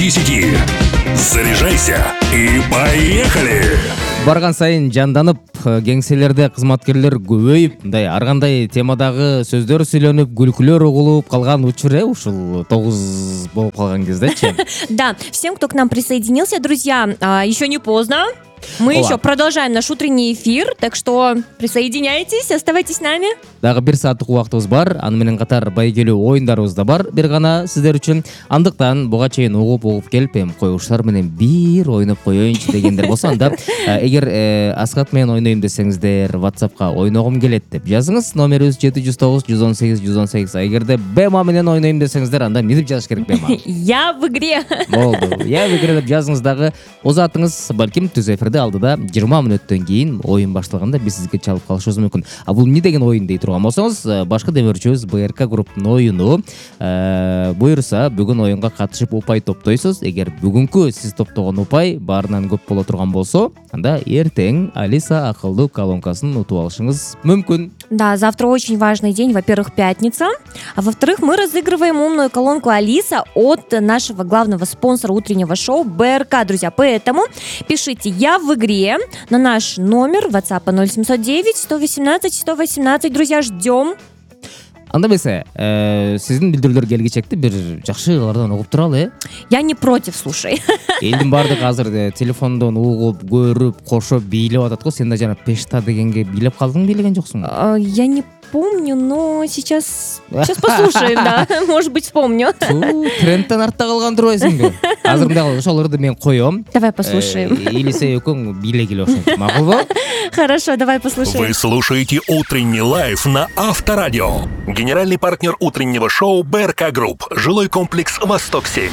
10. Заряжайся и поехали! Барган сайын жанданып, кеңселерде кызматкерлер көбөйүп, мындай ар кандай темадагы сөздөр сүйлөнүп, күлкүлөр угулуп калган учур ушул 9 болуп калган кездечи. Да, всем, кто к нам присоединился, друзья, еще не поздно. Мы еще продолжаем наш утренний эфир, так что присоединяйтесь, оставайтесь с нами. Дагы 1 сааттык убактыбыз бар, аны менен катар байгелүү оюндарыбыз да бар, бир гана сиздер үчүн. Андыктан буга чейин угуп келип, коюуштар менен бир ойноп коеюнчу дегендер болсо, анда эгер Аскат менен ойнойм десеңиздер, WhatsApp'ка ойногум келет деп жазыңыз. Номерибиз 709 118 118. Эгерде Бема менен ойнойм десеңиздер, анда эмне деп жазыш керек, Бема? Я в игре. Болду. Я в игре деп жазыңыз дагы. Озатыңыз балким түз эфирде алдыда 20 мүнөттөн кийин оюн башталганда биз сизге чалып калышыбыз мүмкүн. А бул эмне деген оюн дей турган болсоңуз, башкы демөөрчүбүз БРК групптун оюну. Буюрса бүгүн оюнга катышып упай топтойсуз. Эгер бүгүнкү сиз топтогон упай баарынан көп боло турган болсо, анда эртең Алиса акылдуу колонкасын утуп алышыңыз мүмкүн. Да, завтра очень важный день. Во-первых, пятница. А во-вторых, мы разыгрываем умную колонку Алиса от нашего главного спонсора утреннего шоу БРК, друзья. Поэтому пишите «Я в игре» на наш номер WhatsApp 0709 118 118. Друзья, ждем. Анда эмесе, сиздин билдирүүлөр келгичекти бир жакшыlardan угуп туралы, Я не против, слушай. Элдин баардыгы азыр телефондон угуп, көрүп, кошоп бийлеп атат го. Сен да жана пешта дегенге бийлеп калдың, бийлеген жоксуң? Я не помню, но сейчас послушаем, да. Может быть, вспомню. Трендтен артта калган турбайсыңбы? Азыр мындай ошолорду мен коем. Давай послушаем. Элисе экөөң бийлегиле ошентип, макулбу? Хорошо, давай послушаем. Вы слушаете «Утренний лайф» на Авторадио. Генеральный партнер утреннего шоу БРК Групп. Жилой комплекс «Восток-7».